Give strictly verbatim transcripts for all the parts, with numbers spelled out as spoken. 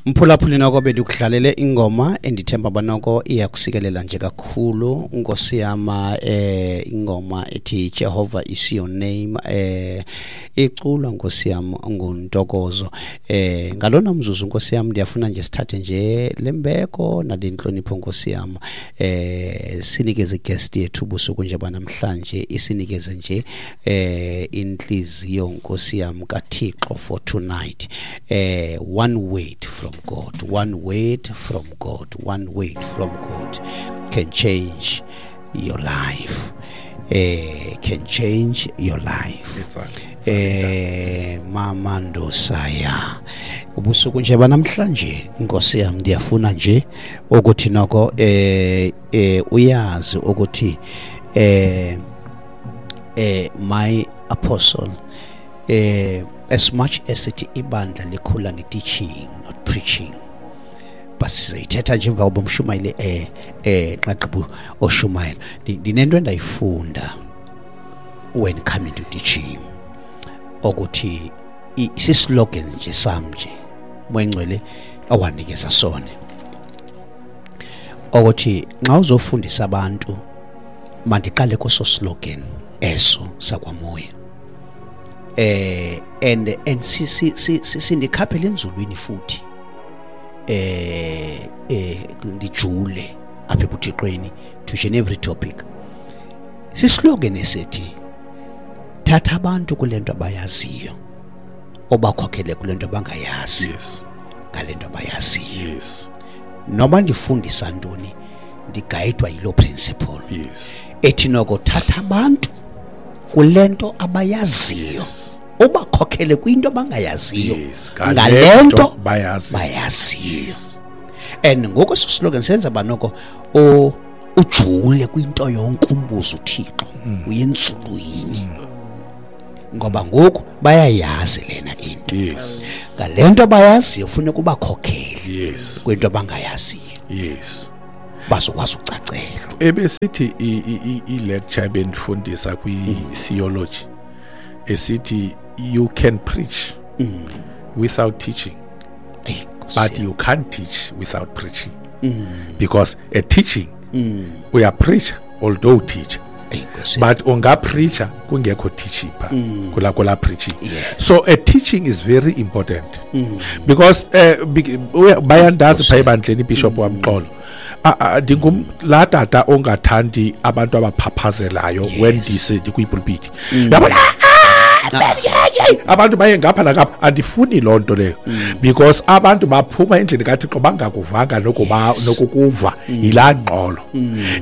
Mphulaphuli noko bendikudlalele ingoma endithemba banoko iyakusikelela nje kakhulu Nkosi yama eh ingoma ethi Jehovah is your name eh iculwa Nkosi yam nguNtokozo eh ngalona mzuzu Nkosi yam ndiyafuna nje sithathe nje lembeko nalenhlonipho Nkosi yam eh sinikeze guest yethu busuku nje banamhlanje isinikeze nje eh inhliziyo Nkosi yam kaThixo for tonight eh one word from God, one word from God, one word from God can change your life. Eh, can change your life. Eh, Mama Ndosaya. Ubusuku nje banamhlanje Nkosi yami ndiyafuna nje ukuthi noko eh eh uyazi ukuthi eh eh my apostle eh as much as it ibandla likhula nge-teaching not preaching but sizayithetha nje emva koba umshumayeli eh eh xa gqiba oshumayela ndinento endayifunda when coming to teaching ukuthi isislogan nje sam nje Moyingcwele awanikeza sona ukuthi nxa uzofundisa abantu mandiqale kuso slogan eso sakwamoya eh and and si si si sindikhaphele enzulwini futhi eh eh ndijule apha ebuthixweni to each and every topic sislogan esithi thatha abantu kulento abayaziyo obakhokhele kulento abangayazi. Yes, ngalento abayaziyo. Yes, noma ndifundisa ntoni ndigayidwa yilo principle. Yes, ethi noko thatha abantu kulento abayaziyo. Yes, ubakhokhele kwinto abangayaziyo. Yes, ngalento bayazi bayaziyo. Yes. And ngoko eso slogan senza banoko o ujule kwinto yonke umbuzo uThixo mm. uyenzulwini mm. ngoba ngoku bayayazi lena into. Yes, ngalento bayaziyo ufuna kubakhokhele. Yes, kwinto abangayaziyo. Yes, bazokwazi ucacelwa. Ebesithi i lecture ebendifundisa kwi theology esithi you can preach mm. without teaching. Hey, but you can't teach without preaching. Mm. Because a teaching mm. we are preacher although teach. Hey, but unga preacher kungekho teaching pha mm. kula kula preaching. Yes. So a teaching is very important mm. because uh, bayandazi pha ebandleni bishop mm. wamxolo ndingum la tata ongathandi abantu abaphaphazelayo when ndise kwipulpit yabona abantu baye ngapha nangapha andifuni loo nto leyo because abantu baphuma endlini kaThixo bangakuvanga nokuba nokukuva yilaa ngxolo.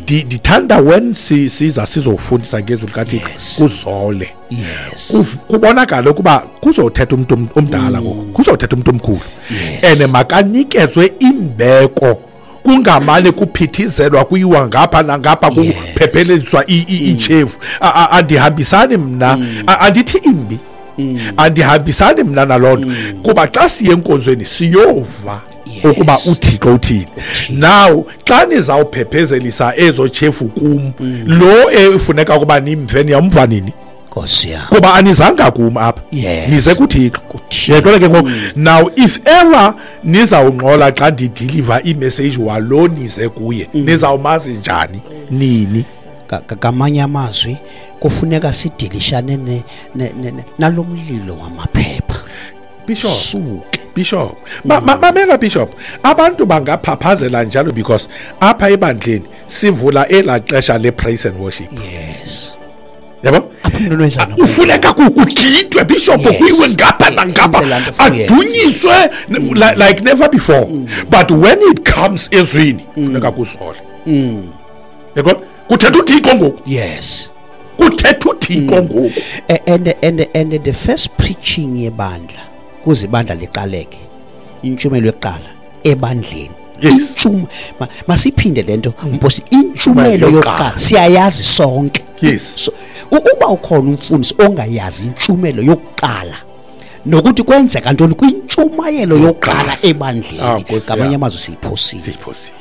Ndithanda when siza sizofundisa ngezwi likaThixo kuzole. Yes, kubonakala ukuba kuzothetha umuntu omdala ngoku kuzothetha umuntu omkhulu and makanikezwe imbeko kungamane kuphithizelwa kuyiwa ngapha nangapha kuphephelezwa ichefu. Andihambisani mna andithi imbi andihambisani mna nalonto kuba xa siye enkonzweni siyova ukuba uThixo uthini. Now xa nizawuphephezelisa ezo chefu kum lo efuneka ukuba nimve niyamva nini Nkosi yam kuba anizanga kum apha nize kuThixo. Yaqonda ke ngoku now if ever nizawungxola xa ndideliver imessage walo nize kuye nizawumazi njani nini. Ngamanye amazwi kufuneka sidilishane nalomlilo wamaphepha Bishop suke Bishop mamela Bishop abantu bangaphaphazela njalo because apha ebandleni sivula elaa xesha le praise and worship. Yes, yabo ufuneka kugidwe Bishop kuyiwe ngapha nangapha adunyiswe like never before. But when it comes ezwini funeka kuzole. Yabo kuthetha uThixo ngoku. Yes, kuthetha uThixo ngoku. And and and the first preaching yebandla kuze ibandla liqaleke intshumelo yokuqala ebandleni. Yes, masiphinde lento mposi intshumelo yokuqala siyayazi sonke. Yes, so uba ukhona umfundisi ongayazi intshumelo yokuqala nokuthi kwenzeka ntoni kwintshumayelo yokuqala ebandleni ngamanye amazwi siyiphosile siyiphosile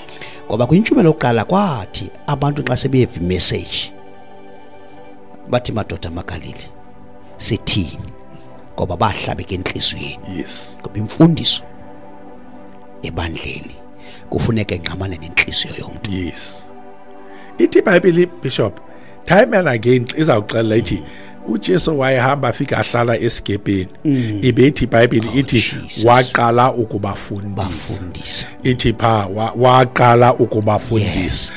ngoba kwintshumelo yokuqala kwathi abantu xa sebeva imessage bathi madoda amaGalili sithini ngoba bahlabeke enhliziyweni. Yes, ngoba imfundiso ebandleni kufuneka engqamane nenhliziyo yomuntu. Yes, ithi iBhayibheli, Bishop, time and again izawuxelela ithi uJesu wayehamba afika ahlala esigepeni, ibethi iBhayibheli ithi waqala ukubafundisa, ithi pha waqala ukubafundisa.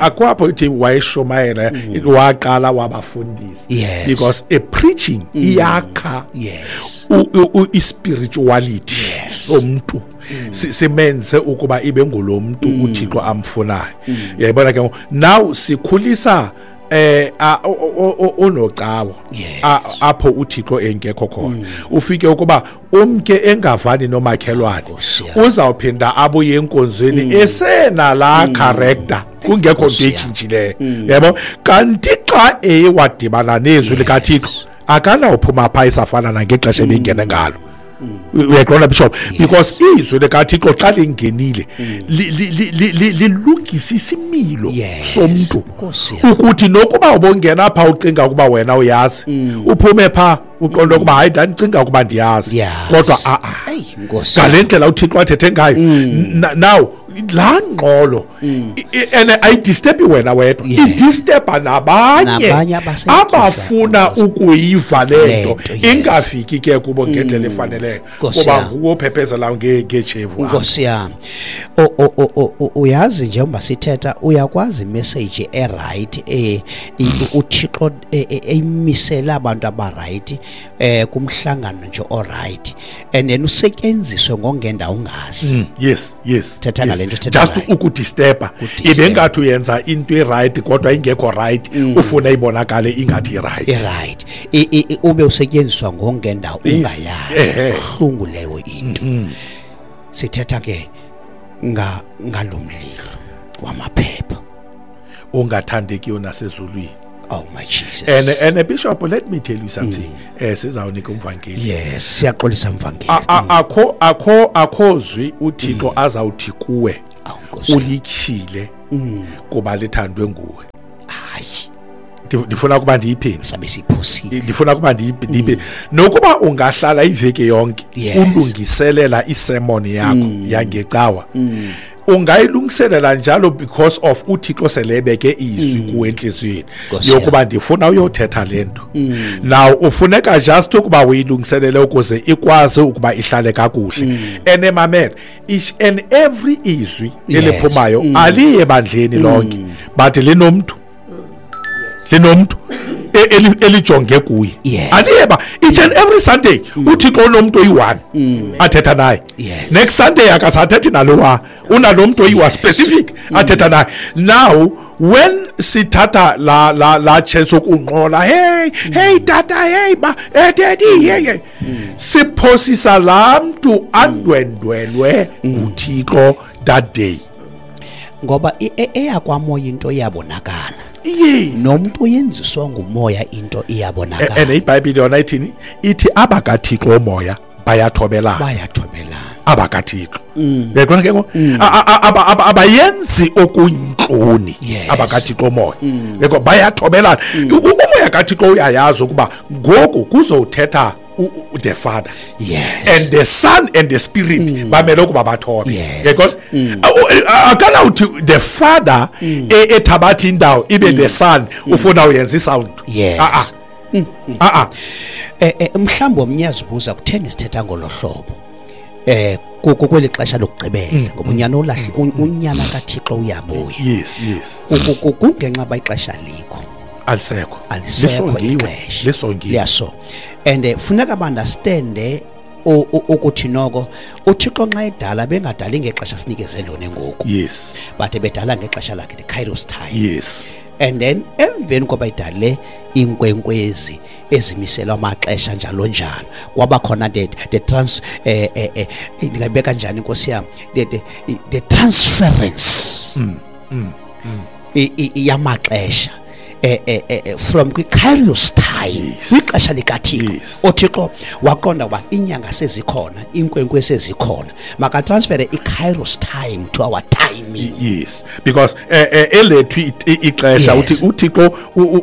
Akwapho ithi wayeshumayela, waqala wabafundisa, because a preaching iyakha i-spirituality somuntu, simenze ukuba ibe ngulo muntu uThixo amfunayo. Uyayibona ke now sikhulisa eh onocawa apho uThixo engekho khona. Ufike ukuba umke engavani nomakhelwane, uzawuphinda abuye enkonzweni esena la character, kungekho nto etshintshileyo, yabo. Kanti xa eye wadibana nezwi likaThixo, akanawuphuma pha isafana nangexesha ebengene ngalo. Uyaqonda, Bishop? Because izwi likaThixo xa lingenile lilungisa isimilo somntu, ukuthi nokuba ubongena pha ucinga ukuba wena uyazi, uphume pha uqonda ukuba hayi, ndandicinga ukuba ndiyazi, kodwa a a ngale ndlela uThixo athethe ngayo. Now laa ngxolo and ayidisturbi wena wedwa, idisturba nabanye abafuna ukuyiva le nto, ingafiki ke kubo ngendlela efaneleyo, kuba nguwo ophephezela ngeetshevu. Nkosi yam, uyazi njengoba sithetha, uyakwazi imessage eright uThixo eyimisela abantu abaright eh kumhlangano nje oright, and then usetyenziswe ngongendawo ungazi. Yes, yes. Thetha ngale nto. Just ukudisturba, ibe ngathi uyenza into eright kodwa ingekho right, ufuna ibonakale ingathi right. Right, ube usetyenziswa ngongendawo ungayazi. Buhlungu leyo into. Sithetha ke nga ngalomlilo wamaphepha ongathandekiyo nasezulwini. Oh my Jesus. And and Bishop, let me tell you something. Eh sizawunika umvangeli. Yes, siyaxolisa mvangeli. Akho akho akhozwi uThixo azawuthi kuwe ulichile kuba lithandwe nguwe. Hayi. Ndifuna kuba ndiyiphinde. Sabe siphosile. Ndifuna kuba ndiyiphinde. Nokuba ungahlala iveki yonke ulungiselela isermon yakho yangecawa, ungayilungiselela njalo because of uThixo selebeke izwi kuwe enhliziyweni yokuba ndifuna uyothetha lento. Now ufuneka just ukuba uyilungiselele ukuze ikwazi ukuba ihlale kakuhle. Ene mamela, each and every izwi eliphumayo aliye ebandleni lonke, but linomntu linomntu elijonge kuye. Aliyeba each and every Sunday uThixo unomntu oyi-one athetha naye. Next Sunday akasathethi nalowa, unalomntu oyi-one specific athetha naye. Now when sithatha la la la chance yokunqola, hey hey tata, hey ba, hey daddy, hey hey, siphosisa laa mntu andwendwelwe nguThixo that day. Ngoba eyakwamoya into iyabonakala. Yes. Nomuntu uyenziswa ngumoya into iyabonakala. And iBhayibheli yona ithini? Ithi abakaThixo omoya bayathobelana. Bayathobelana. AbakaThixo. Uyaqonda ke ngoku? Abayenzi okuyintloni abakaThixo omoya. Yeko bayathobelana. Umoya kaThixo uyayazi ukuba ngoku kuzothetha the Father. Yes. And the Son and the Spirit bamele ukuba bathobe. Because akanawuthi the Father ethabatha indawo ibe the Son ufuna uyenza isound. Yes. Ah ah. Ah ah. Eh mhlawumbe omnyazibuza kutheni sithetha ngolohlobo. Eh kweli xesha lokugqibela ngoba unyana olahle unyana kaThixo uyabuya. Yes, yes. Kungenxa ba ixesha likho. Alisekho. Lisongiwe. Lisongiwe. Liyaso. And funeka understand ukuthi noko uThixo nxa edala bengadali ngexesha sinikeze lona ngoku. Yes. But bedala ngexesha lakhe, the Kairos time. Yes. And then emveni koba idale inkwenkwezi ezimiselwa amaxesha njalo njalo, kwaba khona the the trans eh eh ndingayibeka njani inkosi yami, the the, the transference mm, mm, mm. yamaxesha eh, eh, eh, from kwi-Kairos time, kwixesha likaThixo, uThixo waqonda uba inyanga sezikhona, inkwenkwe sezikhona, makatransfere i-Kairos time to our timing. Yes, because elethu ixesha uthi uThixo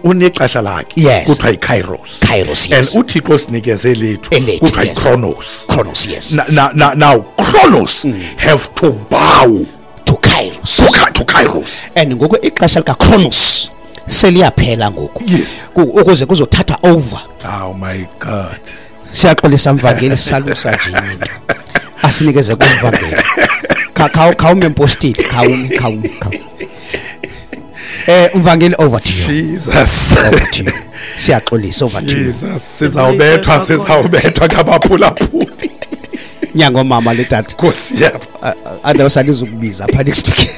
unexesha lakhe kuthiwa i-Kairos. Kairos, yes. And uThixo sinikeze lethu kuthiwa i-Chronos. Chronos, yes. Now, now, now Chronos mm. have to bow to Kairos. To, to Kairos. And ngoku ixesha lika Chronos seliyaphela ngoku. Yes. Ukuze kuzothatha over. Oh my God. Siyaxolisa mvangeli, salusa nje into. Asinikeze kumvangeli. Kha khawume mpostile, khawume khawume khawume. Eh umvangeli, over to you. Jesus. Over to you. Siyaxolisa, over to you. Jesus, sizawubethwa, sizawubethwa ngabaphulaphuli. Nyango mama le tata. Nkosi yam. Andawusalizukubiza apha next week.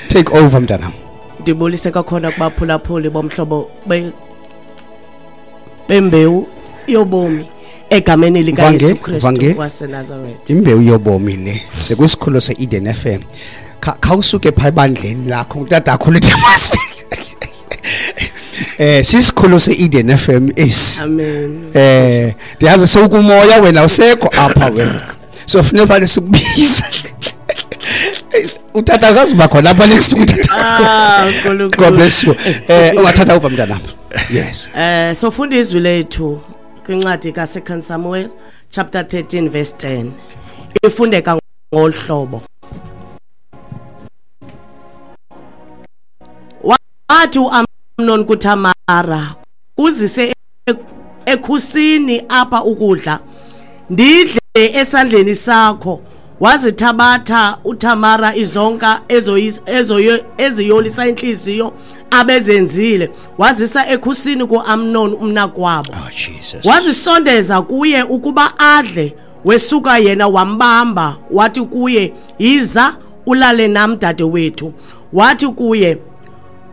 Take over mntanam. Ndibulise kakhona kubaphulaphuli bomhlobo bembewu yobomi egameni likaYesu Kristu waseNazaretha. Imbewu yobomi le sekusikhululo se-Eden F M. Khawusuke pha ebandleni lakho utatakho lethamasi. Eh sisikhululo se-Eden F M esi. Amen. Eh ndiyazi sewukumoya wena usekho apha wena. So funeka phane sikubiza. Utata akazuba khona apha next week. Ah, uNkulunkulu. God bless you. Eh ungathatha uva mntanami. Yes. Eh sofunda izwi lethu kwincwadi kaSecond Samuel chapter thirteen verse ten. Ifundeka ngolhlobo. Wathi uAmnon kuTamara, uzise ekhusini apha ukudla, ndidle esandleni sakho. Wazithabatha uTamara izonka eziyolisa inhliziyo abezenzile, wazisa ekhusini kuAmnon umnakwabo. Oh Jesus. Wazisondeza kuye ukuba adle, wesuka yena wambamba, wathi kuye, yiza ulale nam dadewethu. Wathi kuye,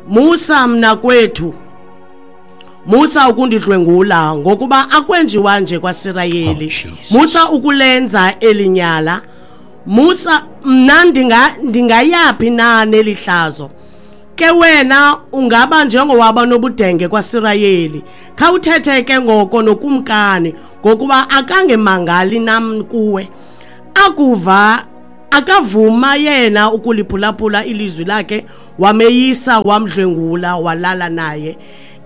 Musa mnakwethu, Musa ukundidlwengula, ngokuba akwenjiwa nje kwaSirayeli. Oh, Musa ukulenza elinyala. Musa mna ndinga ndingayaphi na nelihlazo? Ke wena ungaba njengowaba nobudenge kwaSirayeli. Khawuthethe ke ngoko nokumkani, ngokuba akangemangali nam kuwe. Akuva akavuma yena ukuliphulaphula ilizwi lakhe, wameyisa wamdlwengula walala naye.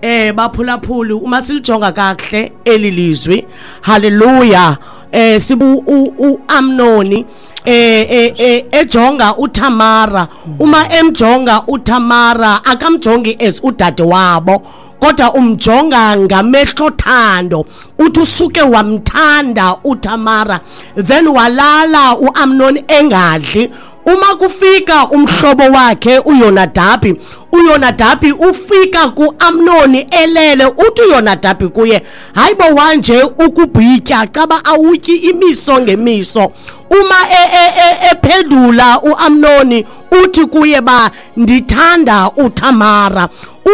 Eh baphulaphuli, uma silijonga kakuhle eli lizwi, haleluya. Eh sibu uAmnoni eh eh ejonga uTamara, uma emjonga uTamara akamjongi as udade wabo, kodwa umjonga ngamehlo thando. Uthi usuke wamthanda uTamara, then walala uAmnon engadli. Uma kufika umhlobo wakhe uYonadabi, uYonadabi ufika kuAmnoni elele. Uthi uYonadabi kuye, hayibo wanje ukubhitya caba awutyi imiso ngemiso. Uma ephendula uAmnoni uthi kuye ba ndithanda uTamara.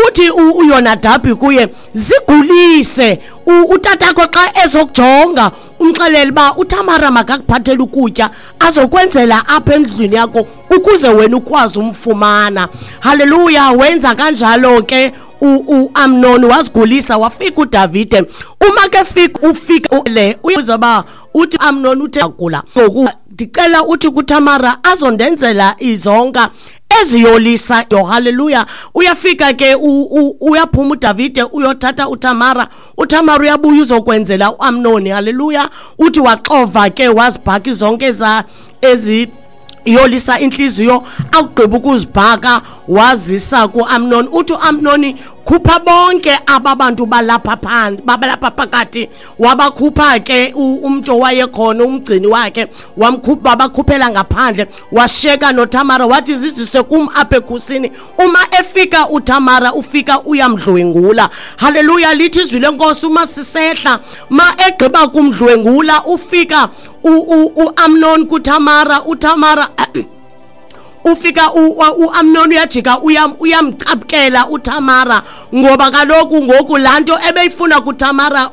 Uthi uYonadabi kuye, zigulise utatakho xa ezokujonga, umxelele ba uTamara makakuphathele ukutya azokwenzela apha endlini yakho ukuze wena ukwazi umfumana. Haleluya. Wenza kanjalo ke uAmnon, wazigulisa. Wafika uDavide. Uma ke fika ufika le uzoba uthi Amnon uthe agula ngoku ndicela uthi kuTamara azondenzela izonka eziyolisa. Yo, haleluya. Uyafika ke uyaphuma uDavide uyothatha uTamara. uTamara uyabuya uzokwenzela uAmnoni. Haleluya. Uthi waxova ke wazibhaka izonke eza ezi yolisa inhliziyo, akugqiba ukuzibhaka wazisa kuAmnon. Uthi uAmnoni, khupha bonke ababantu balapha phansi, babalapha phakathi. Wabakhupha ke umuntu owayekhona umgcini wakhe, wamkhupha bakhuphela ngaphandle, washeka noTamara wathi zizise kum apha ekhusini. Uma efika uTamara ufika uyamdlwengula. Haleluya. Lithi izwi lenkosi uma sisehla, ma egqiba kumdlwengula ufika uAmnon kuTamara. uTamara ufika uAmnon uyajika uyamcapukela uTamara, ngoba kaloku ngoku lanto ebeyifuna kuTamara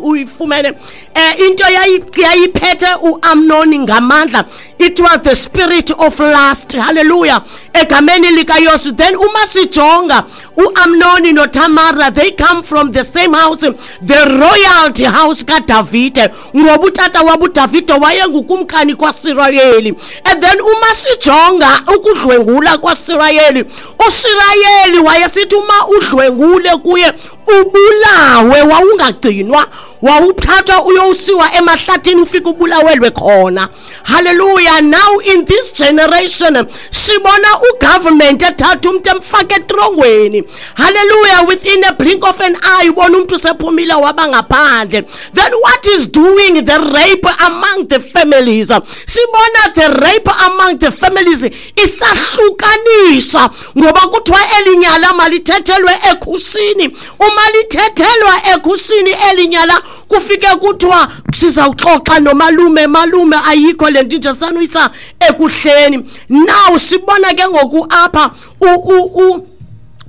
uyifumene. eh into yayiphethe uAmnoni ngamandla, it was the spirit of lust. Hallelujah, egameni likaYesu. Then uma sijonga uAmnoni noTamara, they come from the same house, the royalty house kaDavide, ngoba utata wabo uDavide wayengukumkani kwaSirayeli. And then uma sijonga ukudlwengula kwaSirayeli, uSirayeli wayesithi uma udlwengule kuye ubulawe, wawungagcinwa, wawuphathwa uyosiwa emahlathini ufike ubulawelwe khona. Hallelujah. Now in this generation sibona ugovernment ethatha umuntu emfake etrongweni. Hallelujah, within a blink of an eye ubona umuntu sephumile waba ngaphandle. Then what is doing the rape among the families? Sibona the rape among the families isahlukanisa, ngoba kuthiwa elinyala malithethelwe ekhusini. Uma lithethelwa ekhusini elinyala kufike kuthiwa sizawuxoxa nomalume, malume ayikho le nto nje sanuyisa ekuhleni. Now sibona ke ngoku apha u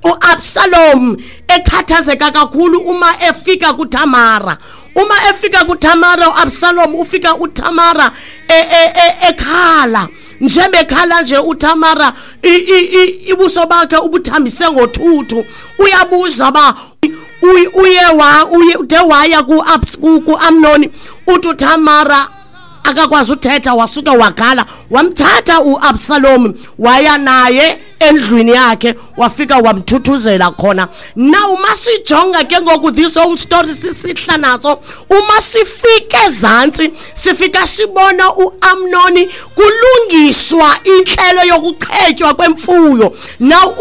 uAbsalom ekhathazeka kakhulu uma efika kuTamara. Uma efika kuTamara uAbsalom ufika uTamara ekhala, njebekhala nje uTamara ibuso bakhe ubuthambise ngothuthu. Uyabuza ba uye wa uye ude waya ku Amnoni, uthi uTamara akakwazi uthetha, wasuka wakhala. Wamthatha uAbsalom waya naye endlwini yakhe, wafika wamthuthuzela khona. Now masijonga ke ngoku this whole story sisihla naso, uma sifike ezantsi sifika sibona uAmnoni kulungiswa inhlelo yokuchetywa kwemfuyo. Now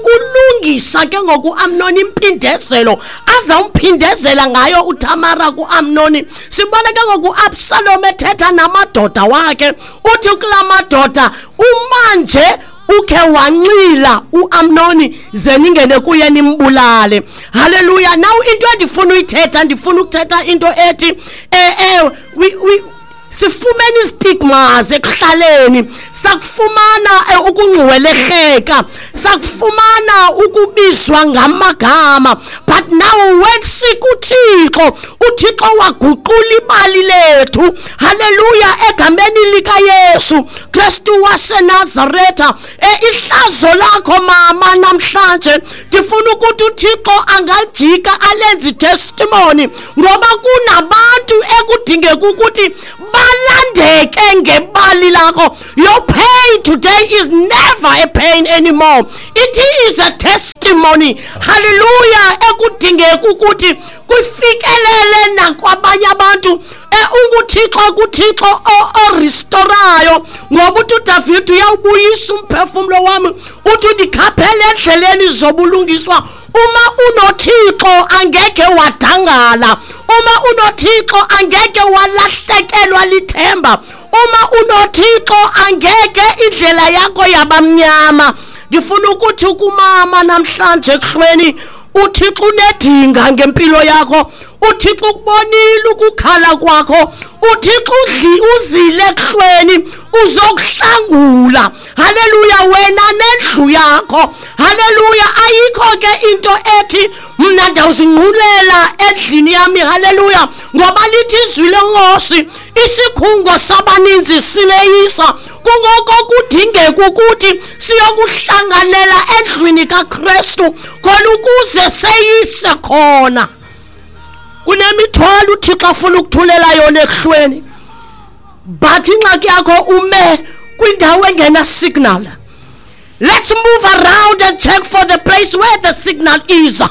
ulungisa ke ngoku uAmnoni impindezelo azawumphindezela ngayo uTamara kuAmnoni. Sibona ke ngoku uAbsalom ethetha namadoda wakhe, uthi kula madoda umanje ukhe wanxila uAmnoni ze ningene kuye nimbulale. Hallelujah. Now into endifuna uyithetha, ndifuna ukuthetha into ethi eh eh we we sifumene istigmas ekuhlaleni, sakufumana ukungcweleheka, sakufumana ukubizwa ngamagama, but now when sikuThixo, uThixo waguqula ibali lethu. Hallelujah, egameni likaYesu Kristu waseNazaretha. Ihlazo lakho mama namhlanje ndifuna ukuthi uThixo angalijika alenze testimony, ngoba kunabantu ekudingeka ukuthi balandeke ngebali lakho. Your pain today is never a pain anymore, it is a testimony. Hallelujah, ekudingeka ukuthi kufikelele nakwabanye abantu. UnguThixo kuThixo orestorayo, ngoba uthi uDavid uyawubuyisa umphefumlo wami, uthi ndikhaphele endleleni zobulungiswa. Uma unoThixo angeke wadangala, uma unoThixo angeke walahlekelwa lithemba, uma unoThixo angeke indlela yakho yabamnyama. Ndifuna ukuthi kumama namhlanje ekuhlweni, uThixo unedinga ngempilo yakho, uThixo ukubonile ukukhala kwakho, uThixo uzile ekuhlweni uzokuhlangula. Haleluya, wena nendlu yakho. Haleluya, ayikho ke into ethi mna ndawuzinqulela endlini yami. Haleluya, ngoba lithi izwi lenkosi isikhungo sabaninzi sileyisa. Kungoko kudingeka ukuthi siyokuhlanganela endlwini kaKristu khona ukuze seyise khona. Kunemithwalo uThixo afuna ukuthulela yona ekuhlweni, but ingxaki yakho ume kwindawo engena signal. Let's move around and check for the place where the signal is.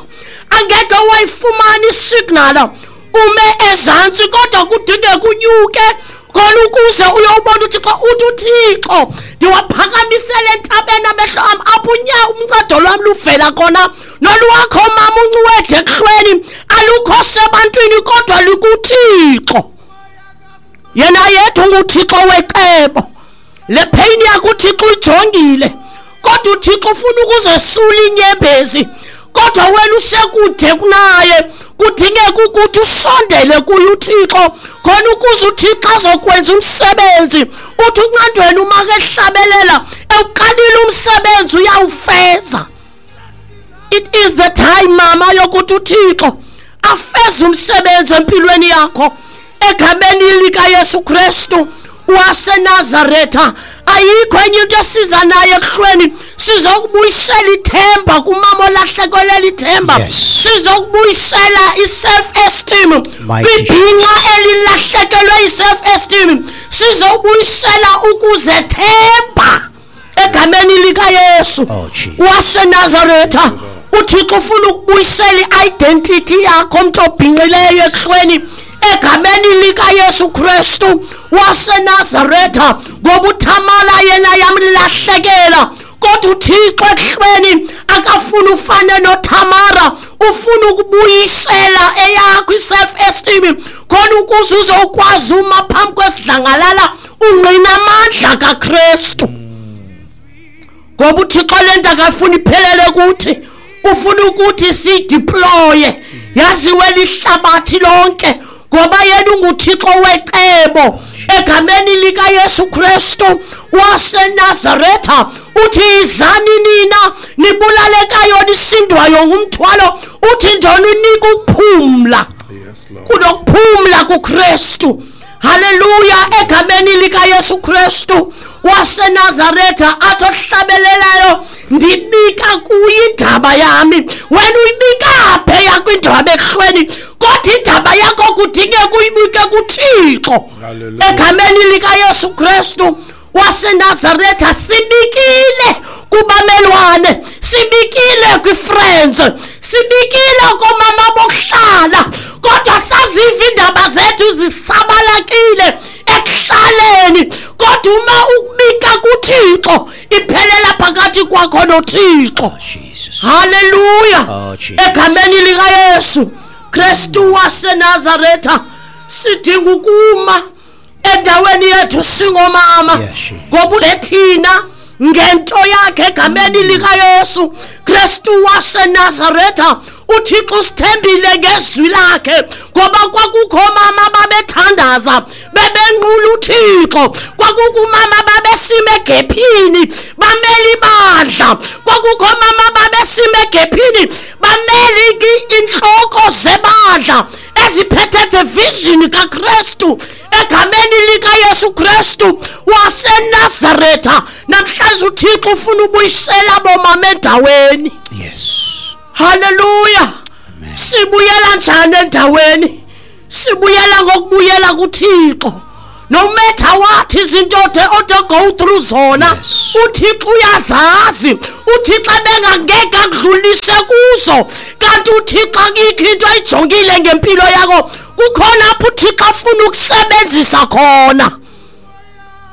Angeke wayifumana isignal ume ezantsi, kodwa kudingeka unyuke khona ukuze uyobona uThixo. Uthi uThixo ndiwaphakamisele entabeni amehlo am, apho unya umncado lwami luvela khona. Nolwakho mama uncwede ekuhlweni alukho sebantwini kodwa likuThixo. Yena yedwa unguThixo wecebo. Le pain yakho uThixo uyijongile, kodwa uThixo ufuna ukuzesula inyembezi, kodwa wena usekude kunaye. Kudingeka ukuthi usondele kuye uThixo khona ukuze uThixo azokwenza umsebenzi. Uthi uncandweni uma kehlabelela ewuqalile umsebenzi uyawufeza. It is the time mama yokuthi uThixo afeze umsebenzi empilweni yakho. Egameni likaYesu Kristu waseNazaretha, ayikho enye into esiza nayo ekuhlweni. Sizokubuyisela ithemba kumama olahlekelwe ithemba. Yes. Sizokubuyisela i-self esteem Mighty kwibhinqa elilahlekelwe i-self esteem. Sizokubuyisela ukuzethemba egameni likaYesu Oh, Jesus. waseNazaretha. uThixo ufuna ukubuyisela i-identity yakho mntu obhinqileyo ekuhlweni egameni likaYesu Kristu waseNazaretha, ngoba uThamara yena yamlahlekela. Kodwa uThixo ekuhlweni akafuni ufane noThamara, ufuna ukubuyisela eyakho i-self esteem khona ukuze uzokwazi uma phambi kwesidlangalala ungqina amandla kaKristu. Ngoba uThixo lento akafuni iphelele kuthi, ufuna ukuthi sideploye yaziwe lihlabathi lonke, ngoba yena unguThixo wecebo. Egameni likaYesu Kristu waseNazaretha uthi izani nina nibulalekayo nisindwayo ngumthwalo, uthi njani unika ukuphumla. Yes, Lord. Kunokuphumla kuKristu. Haleluya. Egameni likaYesu Kristu waseNazaretha athi ohlabelelayo, ndibika kuye indaba yami. Wena uyibika phi yakho indaba ekuhlweni? Kodwa indaba yakho kudingeka uyibike kuThixo. Hallelujah. Egameni likaYesu Kristu waseNazaretha sibikile kubamelwane, sibikile kwi-friends, sibikile koomama bokuhlala, kodwa saziva iindaba zethu zisabalakile ekuhlaleni. Kodwa uma ukubika kuThixo iphelela phakathi kwakho noThixo. Jesus. Haleluya. Oh, Jesus. Egameni likaYesu Kristu waseNazaretha sidinga ukuma endaweni yethu singomama, Yes, Jesus. ngoba thina ngento yakhe egameni likaYesu Kristu waseNazaretha uThixo usithembile ngezwi lakhe, ngoba kwakukho mama babethandaza bebenqula uThixo, kwakukho mama babesime egephini bamele ibandla, kwakukho mama babesime egephini bamele inhloko zebandla eziphethe the vision kaKristu. Egameni likaYesu Kristu waseNazaretha namhlanje uThixo ufuna ubuyisela bomama endaweni. Yes. Haleluya. Sibuyela njani endaweni? Sibuyela ngokubuyela kuThixo. No matter what izinto ode go through zona, Yes. uThixo uyazazi. uThixo ebengangeke akudlulise kuzo, kanti uThixo akikho into ayijongile ngempilo yakho. Kukhona apho uThixo afuna ukusebenzisa khona.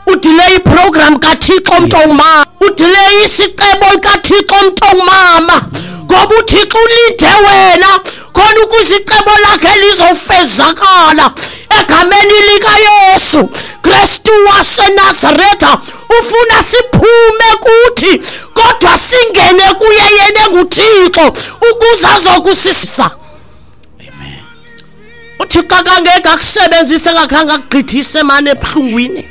Udelay iprogram kaThixo mntongumama, udelay isicebo kaThixo mntongumama, ngoba uThixo ulinde wena khona ukuze icebo lakhe lizofezakala. Egameni likaYesu Kristu waseNazaretha ufuna siphume kuthi kodwa singene kuye yena enguThixo ukuze azokusisa. Amen. uThixo akangeke akusebenzise ngakhange akugqithise mane ebuhlungwini.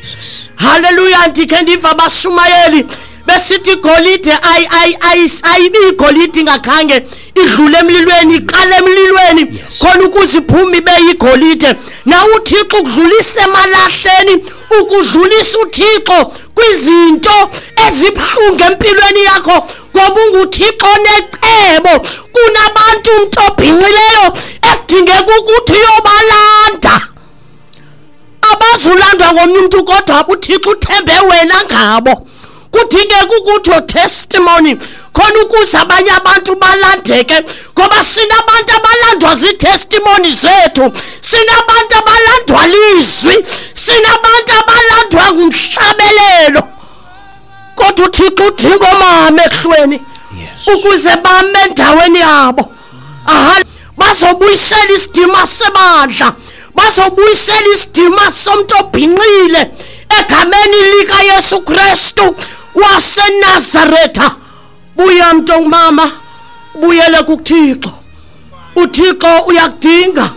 Haleluya. Ndikhe ndiva abashumayeli besithi igolide ayi ayi ayibi igolide ingakhange idlule emlilweni, iqale emlilweni Yes. khona ukuze iphume ibe yigolide. Na uThixo ukudlulisa emalahleni, ukudlulisa uThixo kwizinto ezibuhlungu empilweni yakho, ngoba unguThixo onecebo. Kunabantu umntu obhinqileyo ekudingeka ukuthi uyobalanda, abazulandwa ngomnye umntu kodwa uThixo uthembe wena ngabo. Kudingeka ukuthi your testimony khona ukuze abanye abantu balandeke, ngoba sinabantu abalandwa zii-testimony zethu, sinabantu abalandwa lizwi, sinabantu abalandwa ngumhlabelelo. Kodwa uThixo udinga oomama ekuhlweni Yes. ukuze bame endaweni yabo. Aha, bazobuyisela isidima sebandla, bazobuyisela isidima somntu obhinqile egameni likaYesu Kristu waseNazaretha. Buya mntu ongumama, buyele kuThixo. uThixo uyakudinga.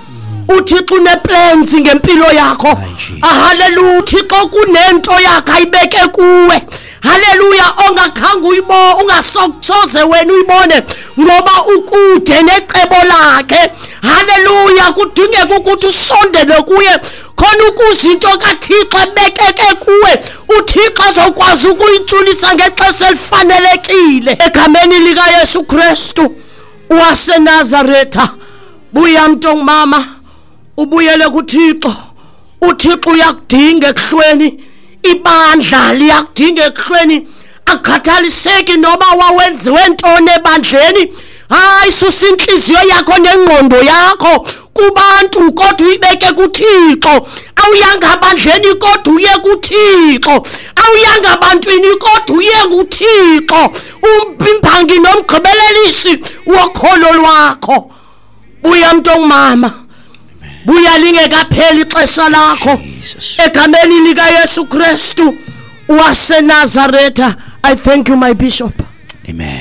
uThixo uneplans ngempilo yakho. Ayi, Jesus. Haleluya. uThixo kunento yakhe ayibeke kuwe. Haleluya. Ongakhange uyibo, ungasokutshoze wena uyibone, ngoba ukude necebo lakhe. Haleluya. Kudingeka ukuthi usondele kuye Khona ukuze into kaThixo ebekeke kuwe, uThixo azokwazi ukuyitshulisa ngexesha elifanelekile. Egameni likaYesu Kristu waseNazaretha, buya mntongmama, ubuyele kuThixo. UThixo uyakudinga ekuhlweni, ibandla liyakudinga ekuhlweni. Akukhathaliseki noba wawenziwe ntoni ebandleni, hayi, susa intliziyo yakho nengqondo yakho kubantu kodwa uyibeke kuThixo. Awuyanga bandleni kodwa uye kuThixo, awuyanga bantwini kodwa uye kuThixo, umpimpangi nomgqibelelisi wokholo lwakho. Buya mntongmama, buya lingekapheli ixesha lakho. Egameni likaYesu Kristu waseNazaretha, I thank you, my bishop. Amen.